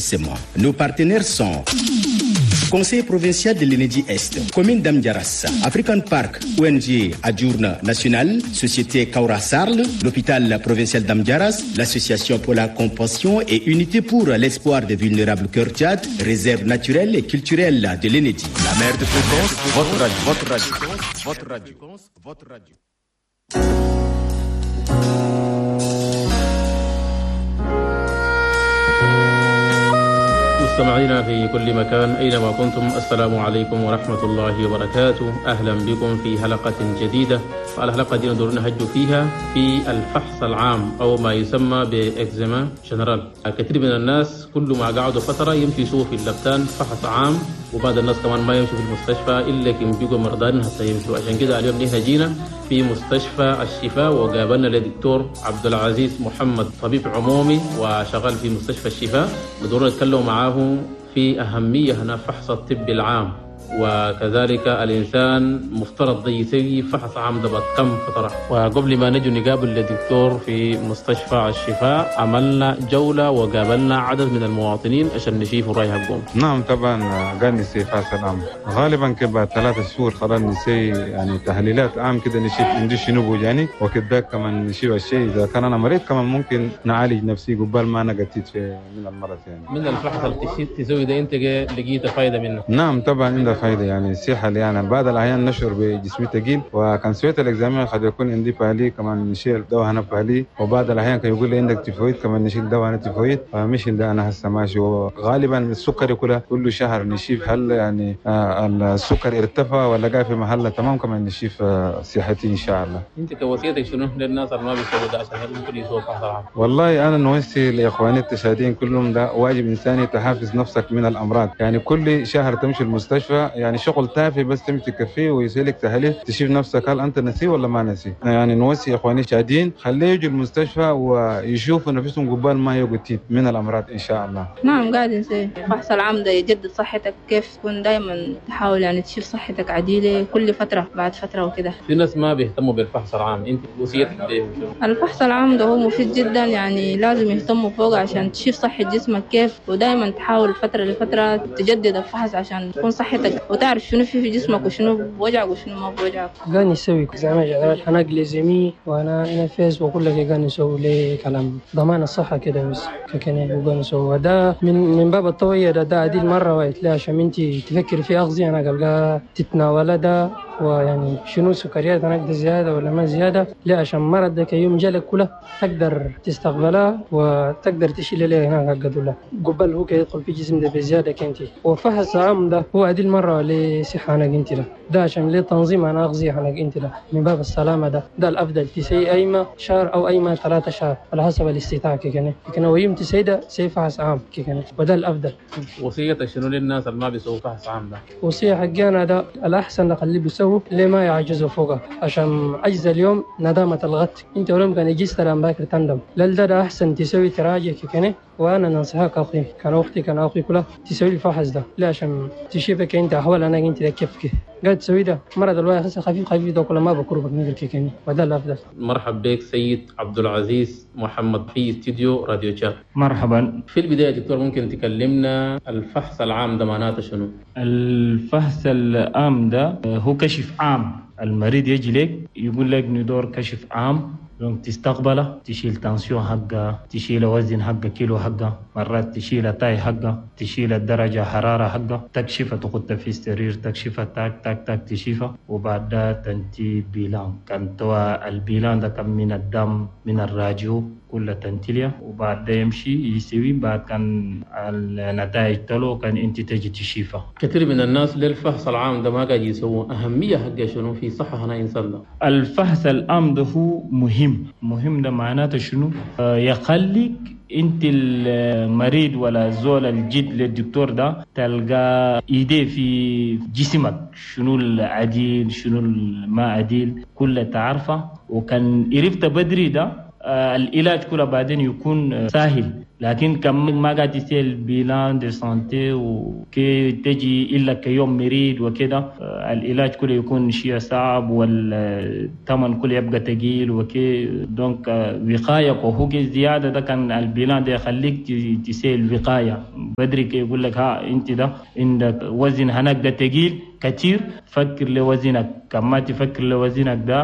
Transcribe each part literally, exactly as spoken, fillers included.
Éclaircissement. Nos partenaires sont Conseil provincial de l'Ennedi Est, commune d'Amdjarass, African Park, O N G Adjourn National, Société Kaura Sarl, l'hôpital provincial d'Amdjarass, l'Association pour la compassion et unité pour l'espoir des vulnérables Cœur Tchad, réserve naturelle et culturelle de l'Ennedi. La mer de fréquence, votre radio, votre radio, votre radio, votre radio. مستمعينا في كل مكان أينما كنتم، السلام عليكم ورحمة الله وبركاته. أهلا بكم في حلقة جديدة. الحلقة دي ندور نهج فيها في الفحص العام أو ما يسمى ب examen général. كثير من الناس كل ما قعدوا فترة يمشي يسووا في اللبتان فحص عام، وبعض الناس كمان ما يمشوا في المستشفى إلا كم بيجوا مرضان حتى يمشوا. عشان كده اليوم نحن جينا في مستشفى الشفاء وقابلنا الدكتور عبد العزيز محمد، طبيب عمومي وشغال في مستشفى الشفاء. بدور نتكلم معاه في أهمية هنا فحص الطب العام، وكذلك الإنسان مفترض يسوي فحص عام ده كم فترة. وقبل ما نجي نقابل الدكتور في مستشفى الشفاء عملنا جولة وقابلنا عدد من المواطنين عشان نشوف الرأي حقهم. نعم طبعا قال نسي فحص العام غالبا كبعد ثلاثة شهور خلاص نسي يعني تحليلات عام كده نشوف عندي شنو يعني، وكذا كمان نشوف الشيء إذا كان أنا مريض كمان ممكن نعالج نفسي قبل ما أنا قتيت في من المرض يعني. من الفحص اللي تسوي ده أنت لقيت فايدة منه؟ نعم طبعا عنده فايدة يعني الصحة يعني بعض الأحيان نشعر بجسمي ثقيل، وكان سويت ال examen قد يكون عندي palu كمان نشيل دواء هنا palu، وبعض الأحيان كان يقول لي عندك تيفويد كمان نشيل دواء هنا تيفويد، فمش ده أنا هسه ماشي. وغالبا السكر كله كل شهر نشيف هل يعني آه السكر ارتفع ولا قاعد في محله تمام، كمان نشيف آه صحتي إن شاء الله. أنت كوصيتك شنو للناس اللي ما بيسووا ده عشان ممكن يسووا فحص عام؟ والله أنا نوصي لإخواني التشادين كلهم ده واجب إنساني تحافظ نفسك من الأمراض، يعني كل شهر تمشي المستشفى يعني شغل تافه بس تمشي تكفيه ويسألك تحاليل تشوف نفسك هل أنت نسي ولا ما نسي. يعني نوصي إخواني الشادين خليه يجوا المستشفى ويشوفوا نفسهم قبال ما يقتيل من الأمراض إن شاء الله. نعم قاعد نسي فحص العام ده يجدد صحتك، كيف تكون دائما تحاول يعني تشوف صحتك عديلة كل فترة بعد فترة وكده. في ناس ما بيهتموا بالفحص العام، أنت وصيتك ليه؟ الفحص العام ده هو مفيد جدا، يعني لازم يهتموا فوق عشان تشوف صحة جسمك كيف، ودائما تحاول فترة لفترة تجدد الفحص عشان تكون صحتك وتعرف شنو في في جسمك وشنو بوجعك وشنو ما بوجعك. قاعد نسوي زعما général أنا glycémie وأنا أنا فيس وأقول لك قاعد نسوي لي كلام ضمان الصحة كده بس كنا وقاعد نسوي ده من من باب الطوية ده ده عديل مرة وقت عشان أنت تفكر في أغذية أنا قلقا تتناول ده ويعني شنو سكريات هناك ده زيادة ولا ما زيادة، لا عشان مرض ده يوم جالك كله تقدر تستقبلها وتقدر تشيل ليه هناك قدولا قبل هو يدخل في جسم ده بزيادة كنتي. وفحص عام ده هو عديل مرة لصحة أنا انت له ده عشان ليه تنظيم أنا أغذية أنا انت له من باب السلامة ده ده الأفضل تسي أيما شهر أو أيما ثلاثة شهر على حسب الاستطاعة كي كان ويوم تسي ده سي فحص عام كي وده الأفضل. وصية شنو للناس اللي ما بيسووا فحص عام ده؟ وصية حقنا ده الأحسن نخليه بيسووا ليه ما يعجزوا فوقه عشان عجز اليوم ندامة الغد، انت ولم كان يجيز ترى باكر تندم، لا ده, ده أحسن تسوي تراجع كي وانا ننصحك اخي كان اختي كان اخي كلها تسوي الفحص ده لا عشان تشوفك انت احوال انا انت كيف كيف قاعد تسوي ده مرض الواحد خفيف خفيف ده كل ما بكربك نقدر كيكني وده الافضل. مرحب بك سيد عبد العزيز محمد في استوديو راديو تشاد. مرحبا. في البدايه دكتور ممكن تكلمنا الفحص العام ده معناته شنو؟ الفحص العام ده هو كشف عام، المريض يجي لك يقول لك ندور كشف عام، donc تستقبله تشيل tension حقه، تشيل وزن حقه كيلو حقه، مرات تشيل taille حقه، تشيل الدرجة حرارة حقه، تكشفه تحطه في السرير تكشفه تاك تاك تاك تشيفه، وبعدها تنتي bilan كان توا ال bilan ده كان من الدم من الراجيو كل تنتليا، وبعد يمشي يسوي بعد كان النتائج تلو كان انت تجي تشيفه. كثير من الناس للفحص العام ده ما قاعد يسووا، أهمية حقه شنو في صحة هنا إنسان ده؟ الفحص العام ده هو مهم، مهم ده معناته شنو؟ آه يخليك انت المريض ولا زول الجد للدكتور ده تلقى ايديه في جسمك شنو العديل شنو ما عديل كله تعرفه، وكان عرفت بدري ده العلاج كله بعدين يكون سهل. لكن كم ما قاعد تسوي bilan de santé وكي تجي الا كيوم مريض وكده، العلاج كله يكون شيء صعب والثمن كله يبقى ثقيل وكي. donc وقاية وهو زيادة ده كان ال bilan ده يخليك تسوي الوقاية بدري، كي يقول لك ها انت ده عندك وزن هناك ده ثقيل كتير، فكر لوزنك. كما تفكر لوزنك ده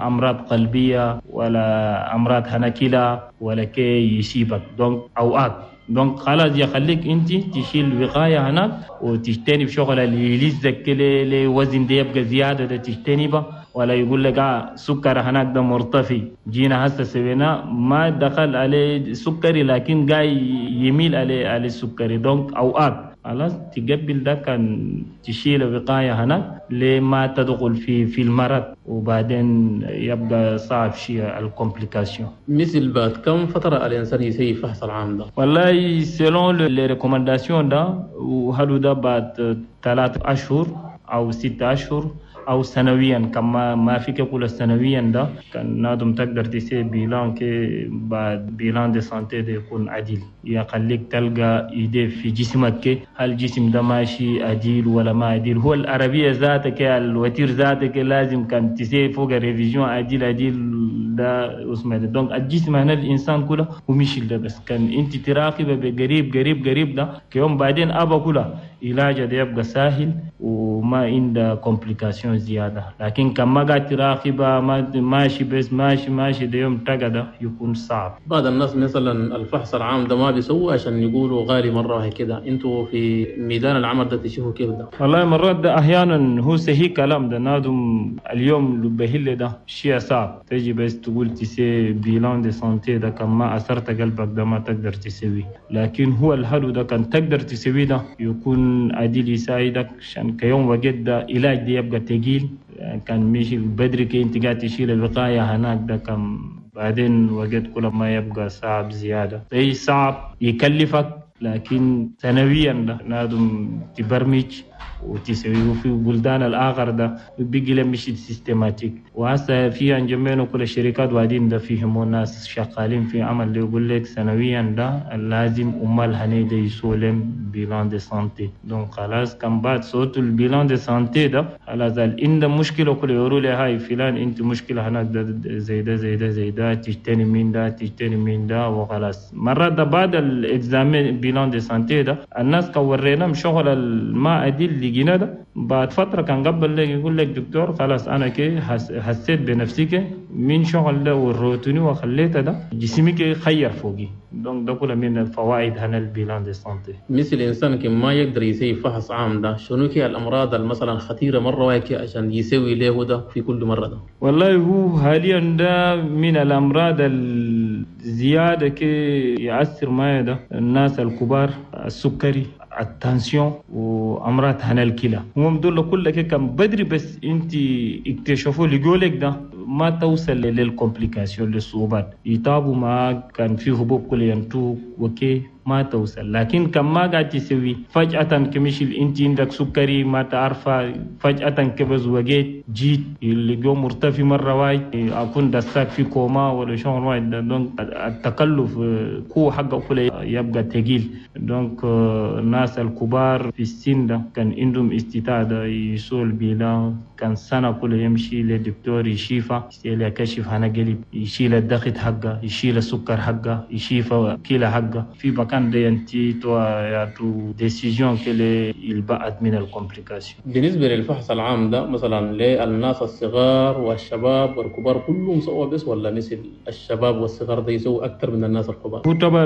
امراض قلبية ولا امراض هنا كلى ولا كي يصيبك donc اوقات. donc خلاص يخليك انت تشيل وقاية هناك وتجتنب شغل اللي يلزك لوزن ده يبقى زيادة ده تجتنبه. ولا يقول لك آه سكر هناك ده مرتفع، جينا هسه سوينا ما دخل عليه سكري لكن جاي يميل عليه على السكري. donc اوقات خلاص تقبل ده كان تشيل وقاية هناك لما تدخل في في المرض وبعدين يبقى صعب شيء ال complications. مثل بعد كم فترة الإنسان يسوي فحص العام ده؟ والله selon les recommandations ده وهلو ده بعد ثلاث أشهر أو ستة أشهر أو سنويا، كما ما فيك يقول سنويا ده كان نادم تقدر تسوي bilan كي بعد bilan de santé ده يكون عديل، يخليك تلقى idée في جسمك كي هل الجسم ده ماشي عديل ولا ما عديل. هو العربية ذاتك ال voiture ذاتك لازم كان تسوي فوق révision عديل عديل ده اسمه ده. donc الجسم هنا الإنسان كله ومشي ده بس كان أنت تراقبه بقريب قريب قريب ده كيوم بعدين أبا كله علاجه ده يبقى سهل وما عنده complications زيادة. لكن كما قاعد تراقبه ما ماشي بس ماشي ماشي ده يوم تقعد يكون صعب. بعض الناس مثلا الفحص العام ده ما بيسووا عشان يقولوا غالي مرة واحدة كده، انتوا في ميدان العمل ده تشوفوا كيف ده؟ والله مرات ده أحيانا هو صحيح كلام ده نادم اليوم بهل ده شيء صعب، تجي بس تقول تسوي bilan de santé ده كان ما أثرت قلبك ده ما تقدر تسوي، لكن هو الحلو ده كان تقدر تسوي ده يكون عديل يساعدك عشان كيوم وجد ده علاج ده يبقى تقيل. كان مشي بدري كي انت قاعد تشيل الوقاية هناك ده كان بعدين وجد كل ما يبقى صعب زيادة، أي صعب يكلفك لكن سنويا ده نادم تبرمج وتسويه. في بلدان الآخر ده بيجي لمشي systématique، وهسه في انجمين كل الشركات وادين ده فيهم ناس شغالين في عمل اللي يقول لك سنويا ده لازم امال هني ده يسولم bilan de santé. donc خلاص كان بعد صوت ال bilan de santé ده خلاص عند مشكلة كل يقولوا لي هاي فلان انت مشكلة هناك ده زي ده زي ده زي ده تجتني من ده تجتني من ده وخلاص. مرات ده بعد ال examen bilan de santé ده الناس كورينا شغل الماء دي اللي جينا ده بعد فترة كان قبل لك يقول لك دكتور خلاص انا كي حسيت بنفسي كي من شغل ده والروتيني وخليته ده جسمي كي خير فوقي. donc ده كله من الفوائد هنا ال bilan de santé. مثل الانسان كي ما يقدر يسوي فحص عام ده شنو كي الامراض مثلا خطيرة مرة واحدة عشان يسوي له ده في كل مرة ده؟ والله هو حاليا ده من الامراض الزيادة كي يأثر معي ده الناس الكبار، السكري، ال tension، وامراض هنا الكلى. هم دول كلها كان بدري بس انت اكتشفوا لقولك ده ما توصل لل complications للصعوبات، يتابوا معاك كان في حبوب كل ينتوك وكي ما توصل. لكن كم ما قاعد تسوي فجأة كمشي انت عندك سكري ما تعرفه فجأة كبز وجيت جيت اللي جو مرتفع مرة واحد اكون دساك في كوما ولا شغل واحد. donc التكلف قوة حقه كله يبقى ثقيل. donc الناس الكبار في السن ده كان عندهم استطاعة يسوي ال bilan كان سنة كله يمشي للدكتور يشيفه يشيل كشف هنا قلب، يشيل الضغط حقه، يشيل السكر حقه، يشيف كلى حقه في بكان ده ينتي تو ياتو décision كله يبعد من ال complications. بالنسبة للفحص العام ده مثلا للناس الصغار والشباب والكبار كلهم سوا بس ولا مثل الشباب والصغار ده يسووا أكثر من الناس الكبار؟ هو طبعا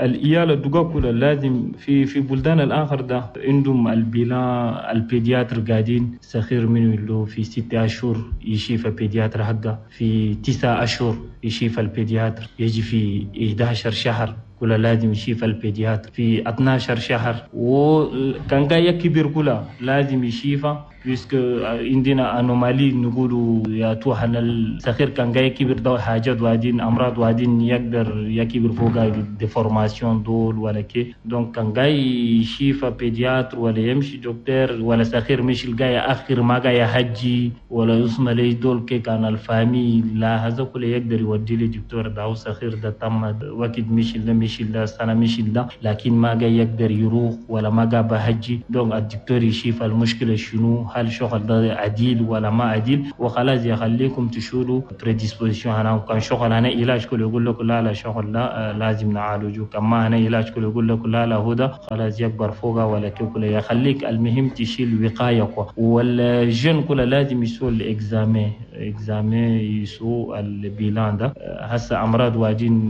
الإيال الدقاق كله لازم في في بلدان الآخر ده عندهم ال bilan ال pédiatre قاعدين صغير منه اللي في ستة أشهر يشيف ال pédiatre حقه، في تسعة أشهر يشيف ال pédiatre، يجي في إحدى عشر شهر كله لازم يشيف ال pédiatre، في اثنا عشر شهر وكان جاي كبير كله لازم يشيفه puisque عندنا anomalie نقولوا يا توحنا الصغير كان جاي كبر ده حاجات وادين امراض وادين يقدر يكبر فوق déformations دول ولا كي. donc كان جاي يشيف pédiatre ولا يمشي دكتور ولا صغير مش الجاي اخر ما جاي حجي ولا يسمى لي دول كي كان ال famille لا هذا كله يقدر يودي لي دكتور ده صغير ده تم وقت مش اللي مش مشي ده سنة مشي ده، لكن ما جاي يقدر يروح ولا ما جا بهجي. donc الدكتور يشوف المشكلة شنو، هل شغل ده عديل ولا ما عديل، وخلاص يخليكم تشولوا prédisposition. هنا كان شغل هنا علاج كله يقول لك لا لا شغل لا لازم نعالجه، كما هنا علاج كله يقول لك لا لا هدى خلاص يكبر فوقه ولا كله يخليك. المهم تشيل وقاية، وال jeunes كله لازم يسووا ال examen examen يسووا ال bilan ده. هسه امراض واجين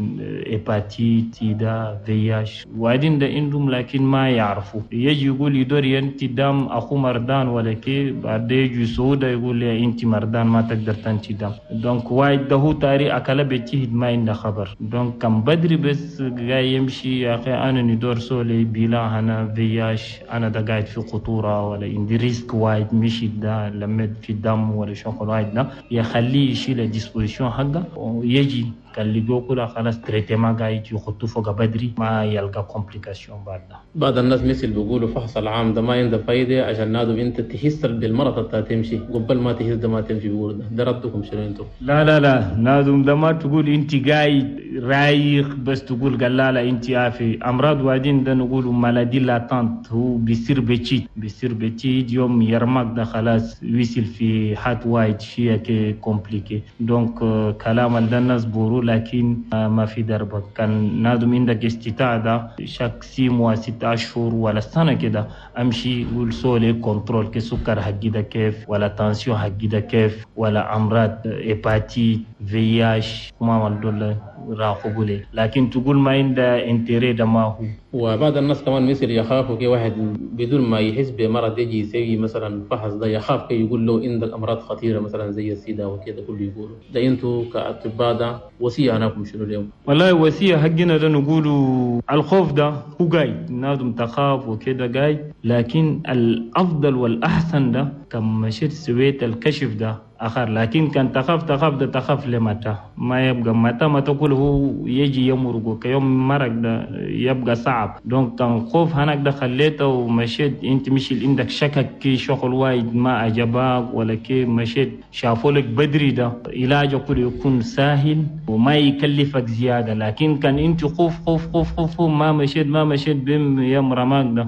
hépatite sida VIH واجين ده عندهم لكن ما يعرفوا، يجي يقول يدور ينتي دم اخو مردان ولا كي، بعد يجي سودا يقول لي انت مردان ما تقدر تنتي دم. donc وايد ده هو تاري اكل بيتهد ما عنده خبر. donc كان بدري بس جاي يمشي يا اخي انا ندور سولي bilan انا VIH انا ده قاعد في خطورة ولا عندي risque وايد مشي ده لمد في الدم ولا شغل وايد ده، يخليه يشيل ال disposition حقه ويجي كان لقوا كلها خلاص traitement قاعد يخطوا فوق بدري ما يلقى complication بعد ده. بعض الناس مثل بيقولوا فحص العام ده ما عنده فايده عشان نادو انت تحس بالمرض بتاع تمشي قبل ما تحس ده ما تمشي، بيقولوا ده ده ردكم شنو انتم؟ لا لا لا نادم ده ما تقول انت قاعد رايق بس تقول قال لا لا انت عافي. امراض وادين ده نقولوا maladie latente، هو بيصير بتشيت بيصير بتشيت يوم يرمك ده خلاص ويصل في حد وايد شيء كي compliqué. donc كلام ده الناس بورو لكن ما في دربك. كان نادم عندك استطاعة ده chaque six mois ست أشهر ولا سنة كده أمشي قول سولي contrôle كسكر حقي ده كيف ولا tension حقي ده كيف ولا أمراض hépatite VIH ما دول راقبوا لي، لكن تقول ما عنده intérêt ده ما هو. وبعض الناس كمان مثل يخافوا كي واحد بدون ما يحس بمرض يجي يسوي مثلا فحص ده يخاف كي يقول له عندك امراض خطيرة مثلا زي السيدا وكذا كله يقولوا ده. انتوا كاطباء ده وصية هناكم شنو اليوم؟ والله وصية حقنا ده نقولوا الخوف ده هو قايد نادم تخاف وكذا قايد، لكن الافضل والاحسن ده كم مشيت سويت الكشف ده آخر. لكن كان تخاف تخاف ده تخاف لمتى ما يبقى متى ما تقول هو يجي يمرق كيوم مرق ده يبقى صعب. donc كان خوف هناك ده خليته ومشيت انت مشي عندك شكك كي شغل وايد ما عجبك ولا كي مشيت شافوا لك بدري ده علاجه كله يكون سهل وما يكلفك زيادة. لكن كان انت خوف خوف خوف خوف ما مشيت ما مشيت بم يوم رماك ده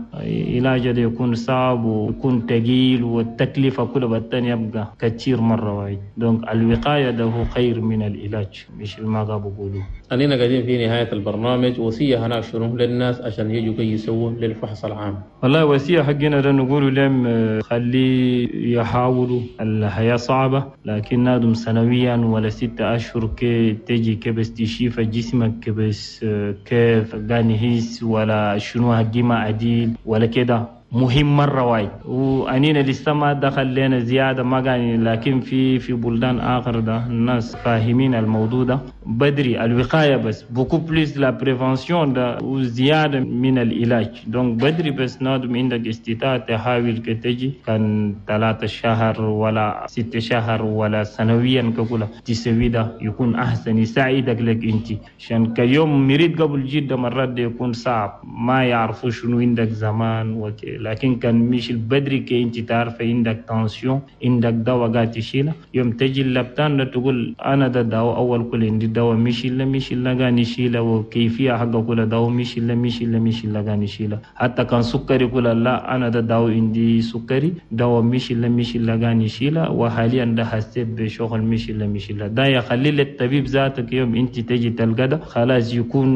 علاجه ده يكون صعب ويكون ثقيل والتكلفه كلها بالتاني يبقى كثير مرة. donc الوقاية ده هو خير من العلاج مش ما بقولوا. أننا قاعدين في نهاية البرنامج، وصية هناك شنو للناس عشان يجوا كي يسووا للفحص العام؟ والله وصية حقنا ده نقولوا لهم خلي يحاولوا، الحياة صعبة لكن نادم سنويا ولا ستة أشهر كي تجي كبس تشيف جسمك كبس كيف قاني هيس ولا شنو هجي ما عديل ولا كده مهم مرة وايد. وأنينا لسه ما دخل لنا زيادة ما قال، لكن في في بلدان آخر ده الناس فاهمين الموضوع ده بدري الوقاية بس beaucoup plus la prévention ده وزيادة من العلاج. donc بدري بس نادم عندك استطاعة تحاول كتجي كان ثلاثة شهر ولا ست شهر ولا سنويا كقولة تسوي ده يكون أحسن يساعدك لك أنت، عشان كيوم مريض قبل جدا مرات ده يكون صعب ما يعرفوا شنو عندك زمان وكي. لكن كان مش البدري كي انت تعرف عندك tension عندك دواء قاعد تشيله، يوم تجي اللبتان تقول انا ده دواء اول كل عندي دواء مش الا مش الا قاعد نشيله وكيفية حقه كل دواء مش الا مش الا مش الا قاعد نشيله. حتى كان سكري كل لا انا ده دواء عندي سكري دواء مش الا مش الا قاعد نشيله وحاليا ده حسيت بشغل مش الا مش الا ده يخلي للطبيب ذاتك يوم انت تجي تلقى ده خلاص يكون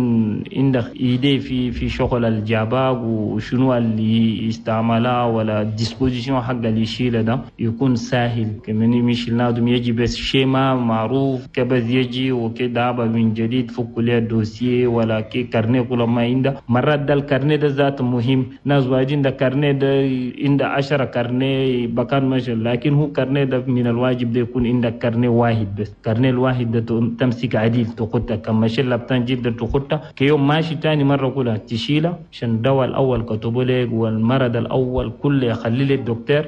عندك idée في في شغل الجاباق وشنو اللي استعملها ولا disposition حق اللي يشيله ده يكون سهل. كمان مش لازم يجي بس schéma معروف كبس يجي وكده من جديد فك ليه dossier ولا كي carnet كل ما عنده. مرات ده ال carnet ده ذات مهم، ناس واجين ده carnet ده عنده عشرة carnet بكان ماشي، لكن هو carnet ده من الواجب ده يكون عندك carnet واحد بس، carnet الواحد ده تمسك عديل تخطه كم ماشي لابتان جدا تخطه كيوم ماشي تاني مرة كلها تشيله عشان الدواء الأول كتبه لك والمرض الأول كله يخلي للدكتور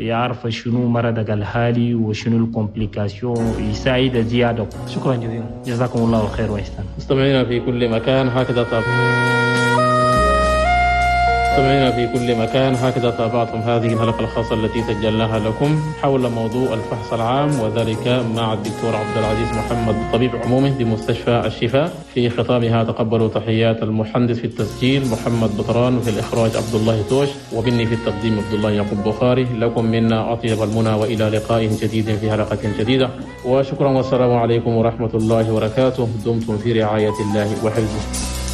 يعرف شنو مرضك الحالي وشنو ال complications يساعد زيادة. شكرا جزيلا، جزاكم الله خير وإحسان. مستمعينا في كل مكان هكذا طب مستمعينا في كل مكان، هكذا تابعتم هذه الحلقة الخاصة التي سجلناها لكم حول موضوع الفحص العام، وذلك مع الدكتور عبد العزيز محمد، طبيب عمومي بمستشفى الشفاء. في ختامها تقبلوا تحيات المهندس في التسجيل محمد بطران، وفي الإخراج عبد الله توش، ومني في التقديم عبد الله يعقوب بخاري. لكم منا أطيب المنى، وإلى لقاء جديد في حلقة جديدة، وشكرا والسلام عليكم ورحمة الله وبركاته. دمتم في رعاية الله وحفظه.